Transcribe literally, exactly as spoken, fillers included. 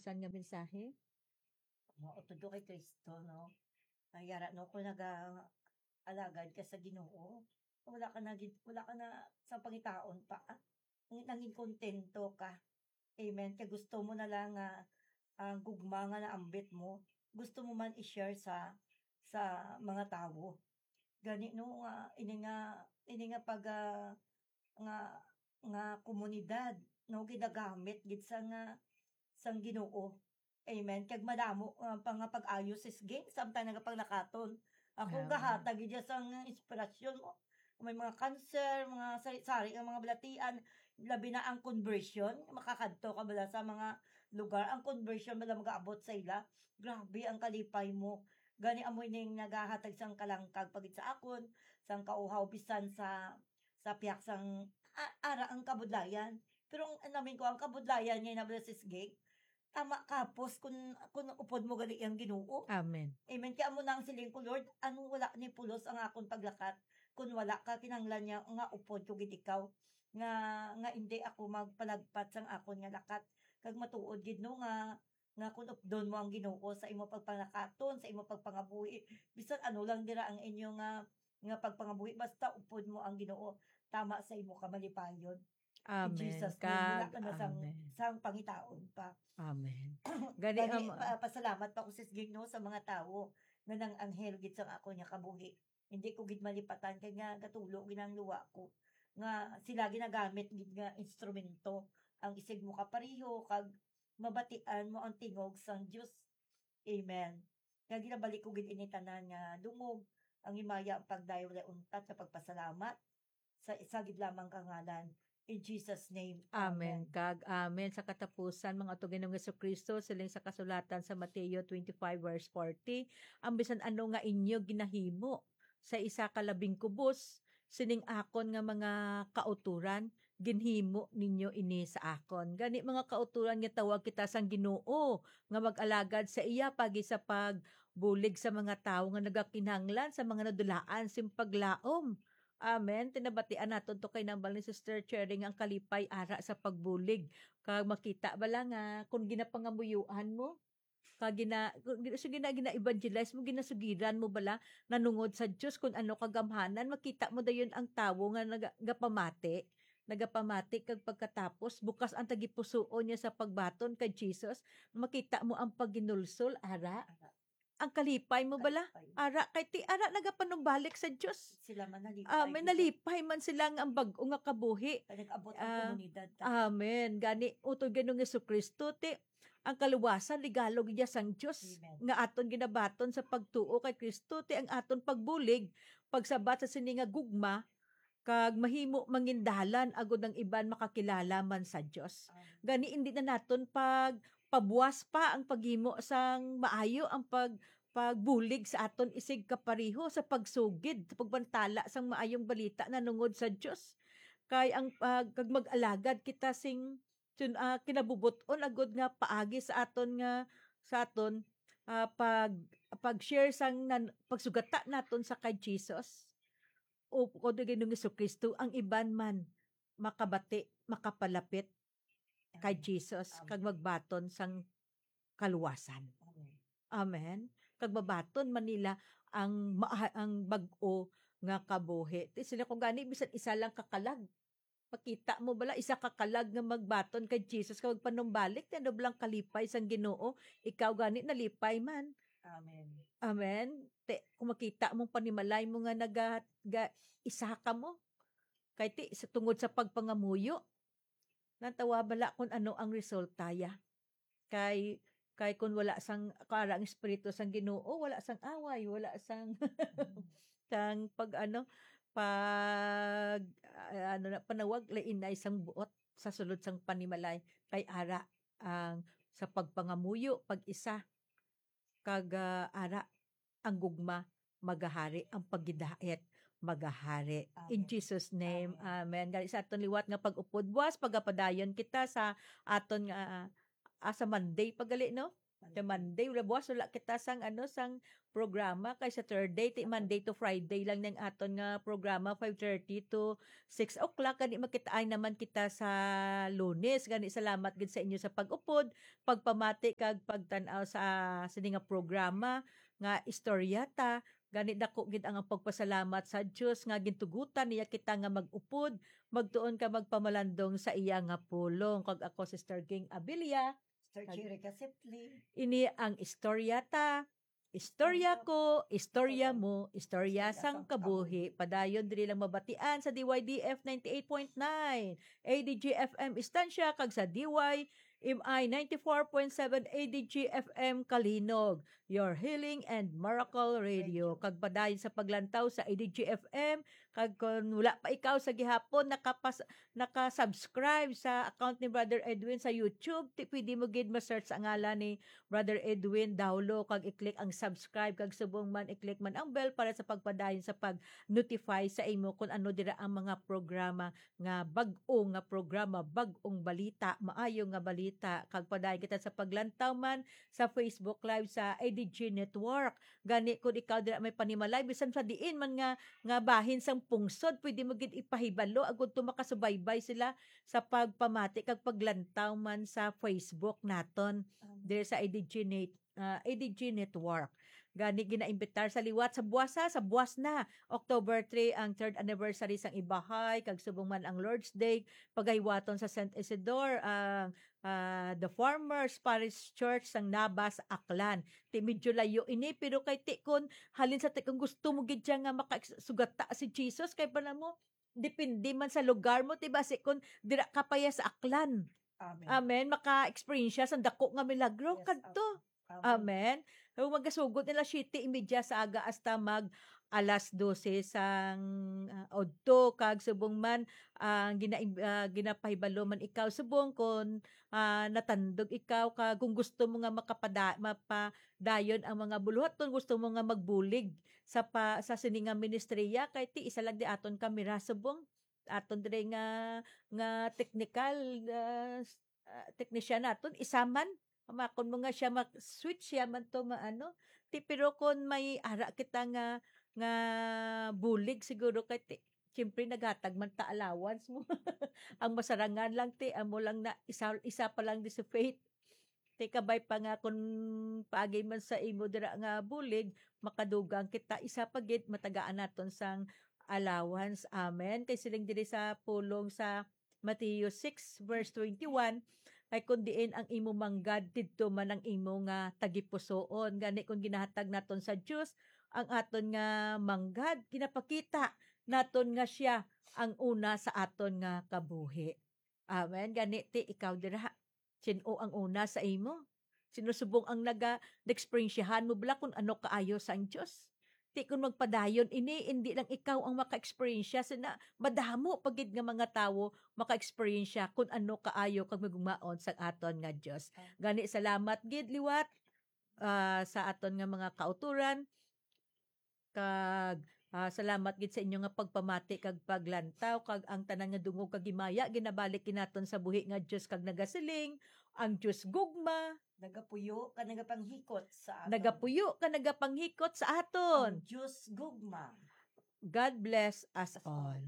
Siya nga mensahe. Mao, tudo kay Kristo, no? Ay, yara, no, kung naga-, alagad ka sa Ginoo, wala ka na gid, wala ka na sa pangitaon pa. Nangin kontento ka. Amen. Kay gusto mo na lang nga ang gugma nga naambit mo, gusto mo man i-share sa, sa mga tawo. Gani, no, nga, ini nga, ini nga pag, ah, nga, nga komunidad, no, ginagamit gid sa nga, sang Ginoo. Amen. Kag madamo, ah, pa nga pag-ayo, Sis Ging, samtang nagapanglakaton. Ako, Amen. Gahatag gid siya sang inspirasyon mo. May mga cancer, mga sari-sari nga mga balatian, labi na ang conversion, makakadto ka bala sa mga lugar, ang conversion bala magaabot sa ila. Grabe ang kalipay mo. Gani amo ning nagahatag sang kalangkag pagid sa akon, sang kauhaw, bisan sa, sa pihak sang, a-, ara ang kabudlayan. Pero ang, ang namin ko, ang kabudlayan nga nabala, Sis Ging, tama kapos kun, kun upod mo gali ang Ginoo. Amen. Amen. Kaya amo na ang siling ko, Lord, ano wala ni pulos ang akon paglakat kun wala ka kinahanglan niya nga upod ko gid ikaw, nga, nga indi ako magpalagpat sang akon nga lakat. Kag matuod gid, no, nga, nga kun updon mo ang Ginoo sa imo pagpanglakaton, sa imo pagpangabuhi, bisan ano lang dira ang inyo nga, nga pagpangabuhi, basta upod mo ang Ginoo, tama sa imo kamalipayon. In Amen. Jesus' name, wala Kag, ka na sang, amen. sang pangitaon pa. Amen. Gani, Gani, am-, pa-, pasalamat pa ko, Sis Ging, no, sa mga tawo nga nang anghel gid sang ako niya kabuhi. Hindi ko gid malipatan kay nga gatulo gid ang luwa ko. Nga sila ginagamit gid nga instrumento ang isig mo kapareho kag mabatian mo ang tingog sang Dios. Amen. Nga ginabalik ko gid ini tanan nga dungog ang himaya, ang pagdayaw, walay untat nga pagpasalamat sa isa gid lamang ka ngalan. In Jesus' name, Amen. amen. Kag amen sa katapusan, mga to Ginoong Jesu-Cristo, siling sa kasulatan sa Mateo twenty-five verse forty, ang bisan ano nga inyo ginahimo sa isa ka labing kubos sining akon nga mga kautoran, ginhimo ninyo ini sa akon. Gani, mga kautoran, nga tawag kita sang Ginoo nga mag-alagad sa iya pagi sa pagbulig sa mga tawo nga nagakinahanglan sa mga nadulaan sing paglaom. Amen. Tinabatian naton to kay nambal ni Sister Cherry nga ang kalipay ara sa pagbulig. Kag makita bala nga kung ginapangamuyoan mo, kag gina-, kung gina-, so gina-, gina-evangelize mo, ginasugiran mo bala nanungod sa Dios kung ano kagamhanan, makita mo dayon ang tawo nga naga-, nagapamati, nagapamati kag pagkatapos bukas ang tagipusoon niya sa pagbaton kay Jesus, makita mo ang paghinulsol, ara. Ang kalipay mo bala? Kalipay. Ara, kay ti, ara, nagapanumbalik sa Dios. Sila man nalipay Ah, may gid. nalipay man sila nga ang bag-o nga kabuhi. Kay nag-abot ang Ah, komunidad ta. Amen. Gani, utod Ginoong Jesu-Cristo, ti, ang kaluwasan, regalo gid sang Dios Amen. nga aton ginabaton sa pagtuo kay Cristo, ti ang aton pagbulig, pagsabat sa sini nga gugma, kag mahimo mangindalan agud ang iban makakilala man sa Dios. Amen. Gani, indi na naton pag pabuas pa ang paghimo sang maayo, ang pag-, pagbulig sa aton isig kapareho sa pagsugid, sa pagbantala sang maayong balita nanungod sa Dios. Kay ang pag-, kag mag-alagad kita sing sun-, ah, kinabubot-on agud nga paagi sa aton nga, sa aton, ah, pag, pag-share sang nan-, pagsugata naton sa kay Jesus o, o di Ginoong Jesu-Cristo, ang iban man makabati, makapalapit kay Amen. Jesus, Amen. kag magbaton sang kaluwasan. Amen. Amen. Kag mabaton man nila ang maa-, ang bag-o nga kabuhi. Ti sila ko gani, bisan isa lang ka kalag. Makita mo bala, isa ka kalag nga magbaton kay Jesus kag magpanumbalik, ti ano bala ang kalipay sang Ginoo? Ikaw gani nalipay man. Amen. Amen. Ti, kung makita mong panimalay mo nga naga-, ga-, isa ka mo. Kay ti, sa tungod sa pagpangamuyo, natawa bala kung ano ang resulta ya. Kay, kay kun wala sang, kara ang Espiritu sang Ginoo, wala sang away, wala sang, Mm. sang pag, ano, pag, ah, ano na, panawag, lainay sang buot sa sulod sang panimalay. Kay ara ang sa pagpangamuyo, pag-isa, kag, ah, ara ang gugma magahari, ang paghidait magahari. In Amen. Jesus' name, Amen. amen. Gani sa aton liwat nga pag-upod buas, pagapadayon kita sa aton nga, ah, sa Monday pa gali, no? Sa Monday, wala buwas, wala kita sang, ano, sang programa, kay sa third day, ti Monday to Friday lang ning aton nga programa, five thirty to six o'clock. Gani, magkitaay naman kita sa Lunes. Gani, salamat gid sa inyo sa pag-upod, pagpamati, kag pagtan-aw sa sini nga programa nga Istorya Ta. Gani, dako gid ang pagpasalamat sa Dios nga gintugutan niya kita nga mag-upod, magtuon ka magpamalandong sa iya nga pulong. Kag ako, Sister Ging Abilia. Sister Kag Cherry Casipli. Ini ang Istorya Ta. Istorya Istorya ko, istorya Istorya mo, istorya istorya sang sang kabuhi. Kabuhi. Padayon diri lang mabatian sa D Y D F ninety-eight point nine, A D G F M Estancia, kag sa D Y M I ninety-four point seven A D G F M Kalinog, your healing and miracle radio. Radio. Kag padayon sa paglantaw sa A D G F M, kag kon wala pa ikaw sa gihapon nakapas-, naka-subscribe sa account ni Brother Edwin sa YouTube, ti pwede mo gid ma-search ang ngalan ni Brother Edwin Daulo, kag i-click ang subscribe, kag subong man i-click man ang bell para sa pagpadayon sa pag-notify sa imo kung ano dira ang mga programa nga bag-o nga programa, bag-ong balita, maayo nga balita, kag padayon kita sa paglantaw man sa Facebook Live sa A D G Network. Gani, kung ikaw dira may panimalay, bisan sa diin man nga, nga bahin sang pungsod, pwede mo gid ipahibalo, agud to makasubaybay sila sa pagpamati kag paglantaw man sa Facebook naton, Amen. Diri sa A D G Net-, ah, A D G Network. Gani, ginaimbitar sa liwat sa buwasa, sa buwas na, October three, ang third anniversary sang Ibahay, kag subong man ang Lord's Day, pagahiwaton sa Saint Isidore, ang, ah, the Farmers Parish Church sang Nabas, Aklan. Ti medyo layo ini, pero kay ti kun halin sa ti kun gusto mo gid siya nga maka-, sugata si Jesus, kay pa na mo, depende man sa lugar mo, ti basi kun dira ka pa ya sa Aklan. Amen. Amen. Maka-experience siya sa dako nga milagro. Yes, kadto. Amen. Amen. So, magasugot nila siyete y media sa aga hasta mag alas dose sang, ah, udto, kag subong man, ah, gina-, ah, ginapahibalo man ikaw subong kon, ah, natandog ikaw, kag kung gusto mo nga makapada-, mapadayon ang mga buluhaton, gusto mo nga magbulig sa pa-, sa sini nga ministriya, kay ti isa lang di aton kamera subong, aton diri nga, nga technical, ah, s-, ah, technician naton, isa man. Amakon mo nga siya mak-, switch siya man to maano. Ti, pero kon may ara kita nga, nga bulig siguro kay ti, siyempre naghatag man ta allowance mo. Ang masarangan lang ti, amo lang na isa, isa pa lang di si Faith. Ti kabay pa nga kun paagi man sa imo dira nga bulig, makadugang kita, isa pa gid matagaan naton sang allowance. Amen. Kay siling diri sa pulong sa Mateo six verse twenty-one, kay kun diin ang imo manggad, didto man ang imo nga tagipusoon. Gani, kun ginahatag naton sa Dios ang aton nga manggad, ginapakita naton nga siya ang una sa aton nga kabuhi. Amen. Gani, ti ikaw dira, sin-o ang una sa imo? Sino subong ang naga-, naeksperyensyahan mo bala kung ano kaayo sang Dios? Ti kun magpadayon ini, indi lang ikaw ang maka-eksperyensya, sina madamo pa gid nga mga tawo maka-eksperyensya kung ano kaayo kag magmaon sang aton nga Dios. Ah. Gani, salamat gid liwat, ah, sa aton nga mga kautoran, kag, ah, salamat gid sa inyo nga pagpamati kag paglantaw, kag ang tanan nga dungog kag himaya ginabalik gid naton sa buhi nga Dios, kag nagasiling, ang Dios gugma. Nagapuyo ka, nagapanghikot sa aton. Nagapuyo ka, nagapanghikot sa aton. Ang Dios gugma. God bless us all.